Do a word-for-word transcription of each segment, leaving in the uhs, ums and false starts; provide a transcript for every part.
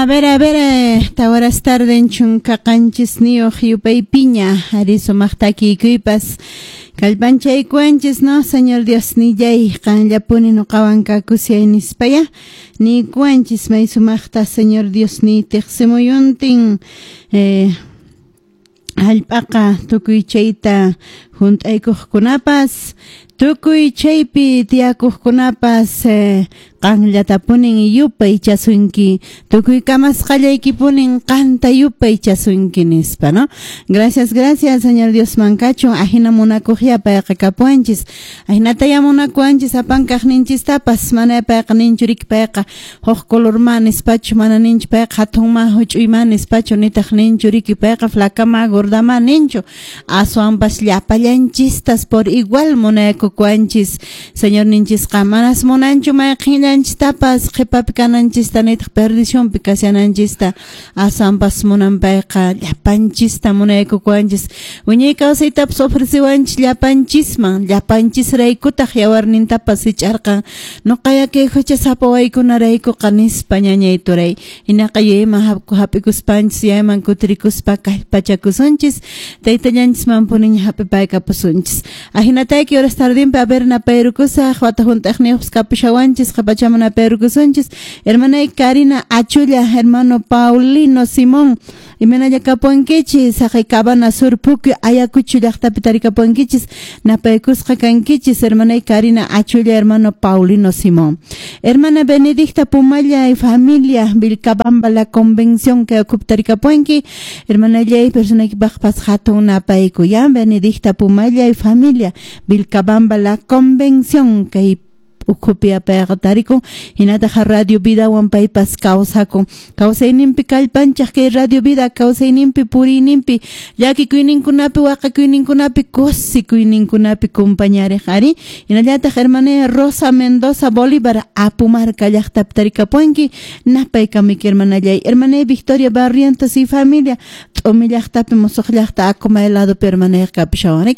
A ver, a ver, eh, tawaras tarden chunka qanchisniyuq yupaypiña, ari sumaq takikuypas kallpanchaykuwanchis, no, Señor Dios nillay, qanllapuni nuqawan kakusyay nispaya, niykuwanchis may sumaqta Señor Dios ni tiqsimuyuntin, eh, hallp'aqa tukuy chayta hunt'aykuqkunapas, tukuy chaypi tiyakuqkunapas, eh, qanllatapunin yupaychasunki, tukuy kamasqallaykipunin qanta yupaychasunki nispa, no? Gracias, gracias, Señor Dios mankachun, ajina munakuqya payqa kapuwanchis, ajinataya munakuwanchis apankaqninchistapas, mana payqa ninchu riki payqa huk colorma nispachu, mana ninchu payqa hatunma huch'uyma nispachu, nitaq ninchu riki payqa flacama gordama ninchu, aswanpas llapallanchistas por igual munakuwanchis, Señor ninchisqa manas munanchu mayqinllanchistapas qhipapi kananchista nitaq perdicionpi kashananchista, aswanpas munan payqa llapanchista munaykuwanchis, wiñay kawsaytapas ofreciwanchis llapanchisman, llapanchisraykutaq yawarnintapas hich'arqan, nuqaya kay huchasapa waykunaraykuqa nispa ñañay turay, hinaqa yayman hap'ikuspanchis, yayman kutirikuspa kallpachakusunchis, taytallanchisman puniña hap'ipaykapusunchis. Ahinatayki horas tardinpi a ver napayrukusaq, wata hunt'aqniyuqpas kapushawanchis, qhipachaman napayrukusunchis. Hermanay Karina Achulla, hermano Paulino Simón, imaynalla kapuwankichis, haqay Cabana Sur Puquio, Ayacucho llaqtapi tarikapuwankichis, napaykusqa kankichis, hermanay Karina Achulla, hermano Paulino Simón. Hermana Benedicta Pumalla y familia, Vilcabamba, la convención que ocupa tarikapuwanki, hermanallay, personaykipaqpas hatun napayku, ya, Benedicta Pumalla y familia, Vilcabamba, la convención kay ukhupi payqa tarikun, hinataq Radio Vidawan paypas kawsakun, kawsayninpi kallpanchaq kay Radio Vida, kawsayninpi puriyninpi, llakikuyninkunapi waqakuyninkunapi kusikuyninkunapi kumpañariq ari, hinallataq hermanaya Rosa Mendoza Bolívar, Apumarca llaqtapi tarikapuwanki, napaykamuyki hermanallay, hermanay Victoria Barrientos y familia, T'umi llaqtapi musuq llaqta Acomay ladopi hermanayqa kapushawan.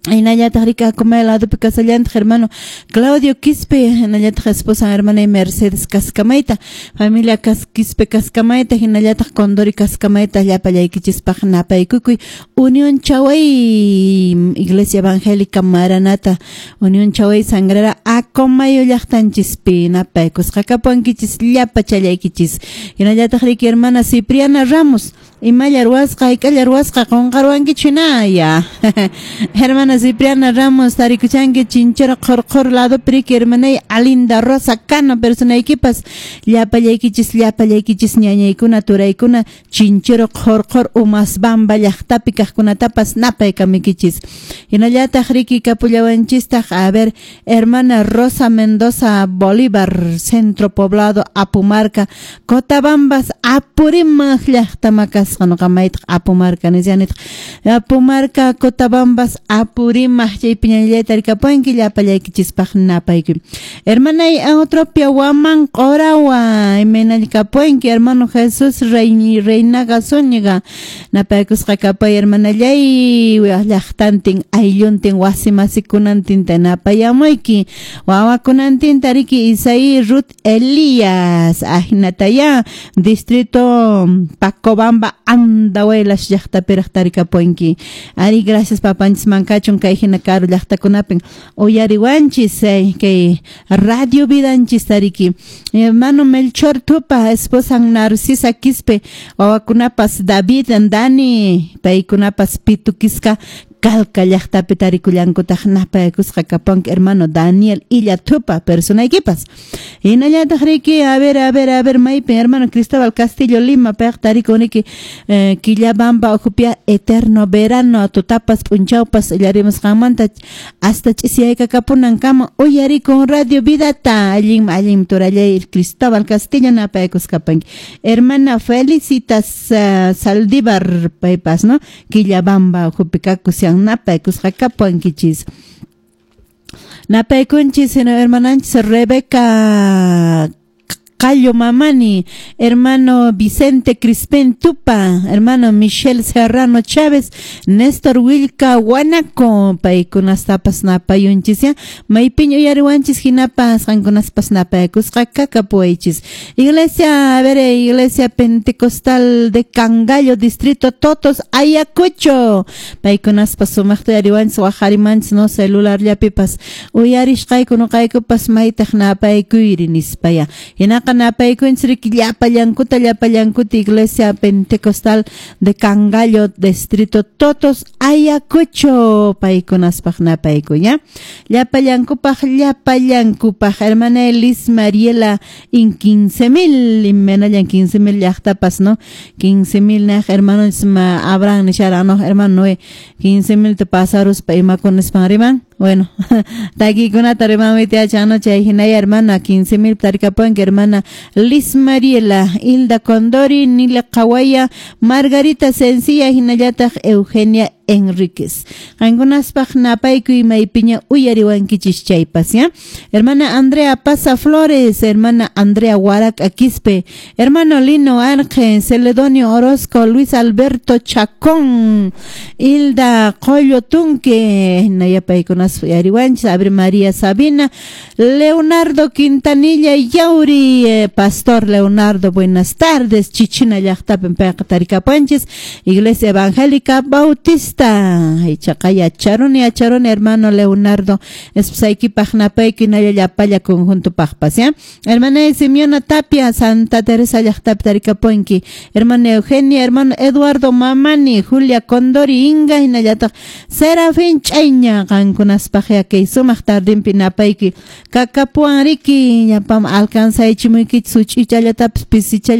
Hinallataq riki Acomay ladopi kasallantaq hermano Claudio Quispe, hinallataq esposa hermana Mercedes Cascamayta, familia Cas Quispe Cascamayta, hinallataq Condori Cascamayta, llapallaykichispaq napaykukuy, Unión Chaway, Iglesia Evangélica Maranata, Unión Chaway Sangrera, Acomayo llaqtanchispi napaykusqa kapuwankichis llapachallaykichis. Hinallataq riki hermana Cipriana Ramos, imalla ruwasqa, hayk'alla ruwasqa, qunqaruwankichu hinaya. Hermana Cipriana Ramos, tarikuchanki Chinchero Qhurqhur ladopi riki hermanay Alinda Rosa Cano, personaykipas llapallaykichis, llapallaykichis ñañaykuna, turaykuna, Chinchero Qhurqhur Umasbamba llaqtapi kaqkunatapas napaykamuykichis. Hinallataq riki kapullawanchistaq, a ver, hermana Rosa Mendoza Bolívar, Centro Poblado Apumarca, Cotabambas, Apurímac llaqtama kasqa, nuqa maytaq Apumarca nisyanitaq, Apumarca, Cotabambas, Apurímac, chaypi ñañallayta tarikapuwanki, llapallaykichispaq napaykuy. Hermanay Eutropia Huamán Qorawa, imaynalla kapuwanki, hermano Jesús Rey, Reinaga Zúñiga, napaykusqa kapuy hermanallay, llaqtantin, aylluntin, wasi masikunantinta napayamuyki, wawakunantinta riki Isaí Ruth Elías, ahinataya, distrito Pacobamba, Andahuaylas llaqtapiraq tarikapuwanki. Ari, gracias papanchis mankachun kay hina karu llaqtakunapin uyariwanchis, eh, kay Radio Vidanchis tariki. Hermano Melchor Tupa, esposa Narcisa Quispe, wawakunapas David, Dani, paykunapas Pituquisca, Calca llaqtapi tarikullankutaq napaykusqa kapuwanki hermano Daniel Illa Tupa, personaykipas. Hinallataq riki, a ver, a ver, a ver, maypi hermano Cristóbal Castillo Lima, payqa tarikun riki, eh, Quillabamba ukhupia eterno verano, tutapas p'unchawpas illarimusqanmanta hasta ch'isyaykakapunankama uyarikun Radio Vidata, allin allin turallay Cristóbal Castillo napaykusqa kapuwanki. Hermana Felicitas uh, Saldívar paypas, no, Quillabamba ukhupi kakushan napaykusqa kapuwankichis. Napaykunchis hermananchis Rebeca Qallo Mamani, hermano Vicente Crispín Tupa, hermano Michel Serrano Chávez, Néstor Wilka Guanaco, paykunastapas napayunchis ya, maypiña uyariwanchis hinapas qankunaspas napaykusqa kakapuwaychis. Iglesia, a ver, Iglesia Pentecostal de Cangallo, Distrito Totos, Ayacucho, paykunaspas sumaqta uyariwanchis waqharimanchis no celular llapipas uyarisqayku nuqaykupas maytaq napaykuyri nispaya. Hinaqa napaykunchis riki llapallankuta llapallankuta Iglesia Pentecostal de Cangallo, Distrito Totos, Ayacucho, paykunaspaq napayku ya. Llapallankupaq llapallankupaq hermana Elis Mariela in quince mil, imenallan quince mil llaqtapas no, quince mil naq hermano Abraham nishara no, hermano Noé, quince mil te pasaruspa imakunispan riman. Bueno, takikunata rimanwitiacha no chay hinaya hermana quince mil tarikapuanki hermana Liz Mariela, Hilda Condori, Nila Kawaya, Margarita Sencilla hinallataq Eugenia Enríquez. Qankunaspaq napaykuy maypiña uyariwankichis chaypas ya. Hermana Andrea Paza Flores, hermana Andrea Huarac Aquispe, hermano Lino Arge, Celedonio Orozco, Luis Alberto Chacón, Hilda Collo Tunque, hinaya paykunas uyariwanchis, Abre María Sabina, Leonardo Quintanilla Yauri, eh, Pastor Leonardo, buenas tardes, Chichina llaqtapin payqa tarikapuanchis, Iglesia Evangélica Bautista, ichaqa yacharuni yacharuni hermano Leonardo, esposaykipaq napayki hinalla llapalla conjuntopaqpas ya. Hermana Simeona Tapia, Santa Teresa llaqtapi tarikapuanki, hermana Eugenia, hermano Eduardo Mamani, Julia Condori Inga, hinallataq Serafín Chayña, qankunaspaq ya kay sumaq tardinpi napayki kakapuan riki, llapam alcanzaychimuykichis such'ichallatapis pisichalla